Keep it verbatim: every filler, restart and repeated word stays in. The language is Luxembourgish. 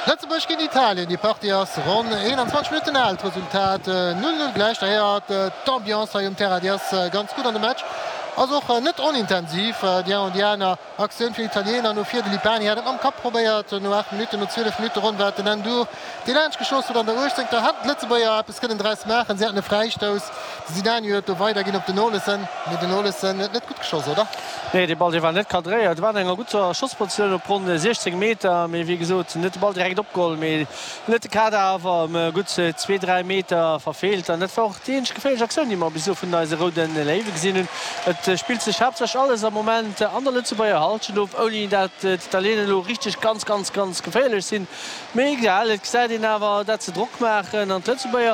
Lëtzebuerg géint Italien, déi Partie ass ronn eenanzwanzeg Minutten al, d'Resultat null null gläich. D'ailleurs d'Ambiance hei um Terrain, déi ass ganz gutt an de Match ass och net onintensiv. Déi eng an déi aner Aktioun fir d'Italiener no vir, de Lipani hat et mam Kapp probéiert no aacht Minutten, no zwielef Minutte ronn war et den Ndour, dee laanscht geschoss huet. An der uechtzéngter hätten d'Lëtzebuerger eppes kënnen draus maachen, si haten e Fräistouss, de Sinani huet do weiderginn op den Olesen, mee den Olesen huet net gutt geschoss, oder? Nee, dee Ball dee war net kadréiert, war an enger gutter Schosspositioun op ronn siechzéng Meter, mee wéi gesot net de Ball direkt opgeholl, mee net de Kader awer ëm gutt zwee, dräi Meter verfeelt. An dat war och déi eenzeg geféierlech Aktioun, déi mer bis elo vun eise Roude Léiwe gesinn hunn. Et spillt sech haaptsächlech alles am Moment an der Lëtzebuerger Hallschent of, ouni dat d'Italiener elo richteg ganz, ganz, ganz geféierlech sinn. Mee egal, et gesäit een awer, dat se Drock maachen an d'Lëtzebuerger